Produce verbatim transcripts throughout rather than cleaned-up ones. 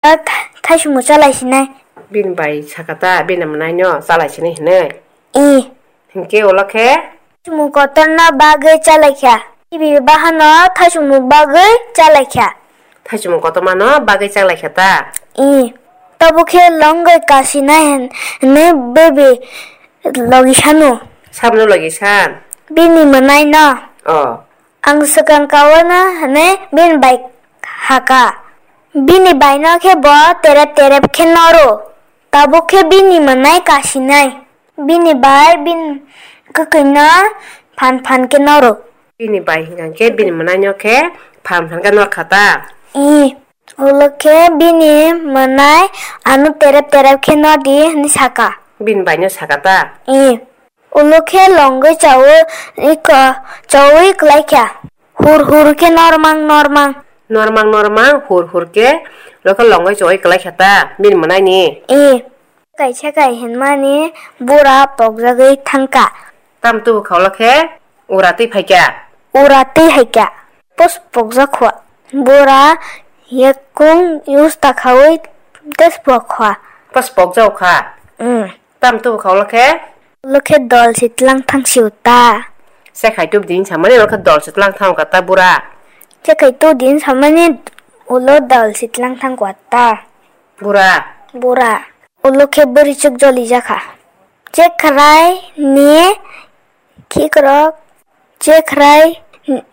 Tha-, thaisumung chalai sinai. Bini bai sakha ta, bini mwnaino chalai sinai hinwi. I. Hinkhe ulo khe? Thaisumung kotorno bagwi chalaikha. Bibi bahano thaisumung bagwi chalaikha. Thaisumung kotormano bagwi chalaikha ta? I. Tabuk khe longwi kasinai hin-, hinwi bibi logi sanu. Sabno logi san? Bini mwnaino. Oh. Ang swkang kawana hwnwi bini bai hakha. Bini baino khe bo terep terep khe noro. Tabuk khe bini mwnai kasinai. Bini bai bini kwkhwino phan phan khe noro. Bini bai hwnkha khe bini mwnaino khe phan phan khe norkha ta? I. Ulo khe bini mwnai ano terep terep khe nodi hwnwi sakha. Bini baino sakha ta? I. Ulo khe longwi chaui iko-, chaui kwlaikha. Hur hur khe normang normang. Normang normang hur hur khe lokhe longwi chaui kwlaikha ta bini mwnaini? I. Kaisa kai hinmani bura pokjagwi thangkha. Tam tubu kha ulo khe ura twi phaikha. Ura twi haikha. Pos pokjak kha. Bura yakung use ta khaui tes pok kha. Pos pokjak kha. Mm. Tam tubu kha ulo khe? Ulo khe dol si tlang thang si uta. Se khai tubu din samani ulo khe dol si tlang thang kha ta bura. Se khai tubu din samani ulo dol si tlang thang kha ta. Bura. Bura. Ulo khe bwrwi chuk joli jakha. Chekrai ni khikrok, chekrai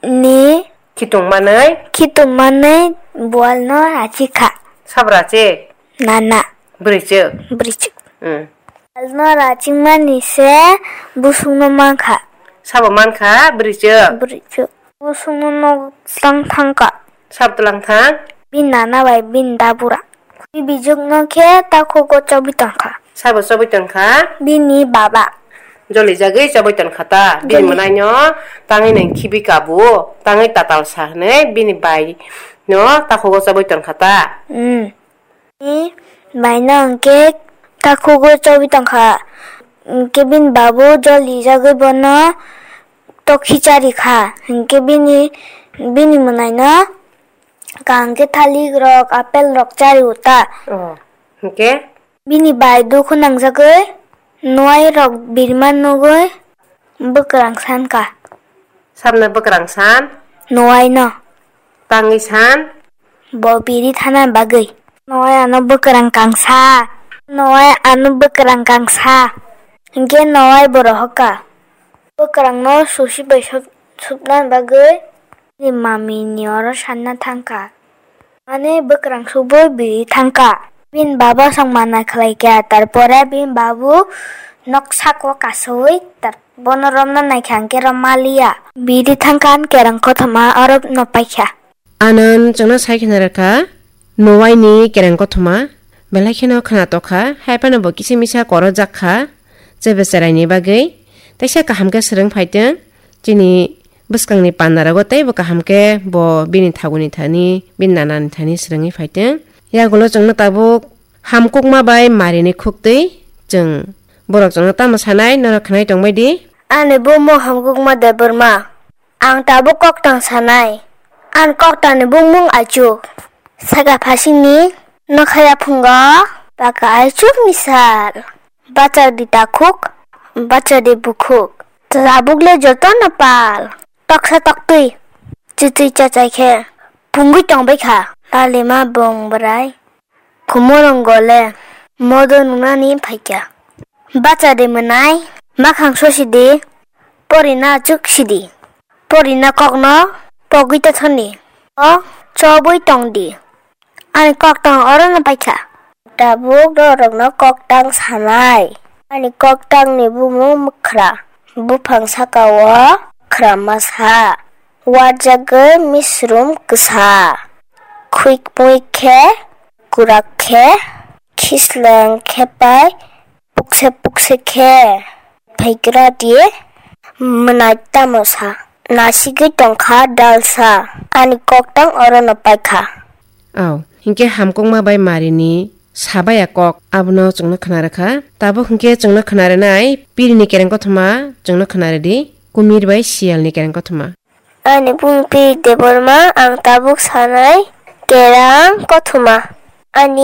ni khitung manwi. Khitung manwi bual no rachikha. Sab rachik? Nana. Bwrwi chuk? Bwrwi chuk. Hmm. Bual no rachikmani se busung no mankha. Sabo mankha bwrwi chuk? Bwrwi chuk. Busung no nog tlang thangkha. Sab tlang thang? Bini nana bai bini dabura. Bini bijwk no khe takhugo chobwi tongkha. Sabo chobwi tongkha? Bini baba. Joli jagwi chobwi tongkha ta? Bini mwnaino tangwi nang khibi kabu, tangwi tatal sa hwnwi bini bai no takhugo chobwi tongkha ta? Hmm. Bini bai no hwnkhe takhugo chobwi tongkha. Hwnkhe bini babu joli jagwi bono tokhi chari kha. Hwnkhe bini, bini mwnaino kaham khe thalik rok, apple rok chari uta. Oh, hwnkhe? Bini bai dukhu nangjagwi nuai rok birma nugwi bwkrang san kha. Sabno bwkrang san? Nuai no. Tangwi san? Bo biri thana bagwi. Nuai ano bwkrang kangsa. Nuai ano bwkrang kangsa. Hwnkhe nuai bo rohorkha. Bwkrangno susi bai sop-, sopna bagwi bini mami ni oro sanna thangkha. Ani bwkrang subui biri thangkha. Bini baba song mana khlaikha, tarpore bini babu nok sako kasui, tar-, bono romna naikha, hwnkhe romaliya. Biri thangkha ani kereng kothoma oro no paikha. Anand chwngno sai kheno rwkha, Noaini kereng kothoma, belai kheno khna tokha, hai phano bo kisa misa korojak kha, chebe cheraini bagwi, teisa kaham khe swrwng phaitwng, chini bwskangni pandarogo teibo kaham khe bo bini thaguni thani, bini nanani thani swrwngwi phaitwng. Yagulo chwngno tabuk hamkukma bai marini khuktwi chwng borok chwngno tamo sanai, norok khwnai tongbai di. Ani bumung hamkukma Debbarma. Ang tabuk koktang sanai. Ang koktangni bumung Aichuk. Saka phasingni nokha yaphungo paka Aichukni sal. Bachadi takhuk, bachadi bukhuk. Tabukle jotono pal. Toksa toktwi. Chitwi chachai khe. Pungwi tongbai kha. Lalima bong bwrai. Khumorong gole modo nunani phaikha. Bacha de mwnai, makhang sosidi, porina chuk sidi. Porina kokno pogwi ta thoni. O chobwi tongdi. Ani koktang orono paikha. Tabuk norokno koktang sanai. Ani koktangni bumung mwkhra. Buphang sakao khra masa. Warjagwi misrum kwsa. Khwik muik khe kurak khe khisleng khe pai pukse pukse khe phaigra di mwnai tamo sa. Nasigwi tongkha dalsa ani koktang orono paikha. Au, hinkhe hamkukma bai marini sabaya kok abono chwngno khna rwkha. Tabuk hinkhe chwngno khna rwnai pirini kereng kothoma chwngno khna rwdi, kumir bai siyalni kereng kothoma. Ani bumung Piri Debbarma, ang tabuk sanai kerang kothoma. Ani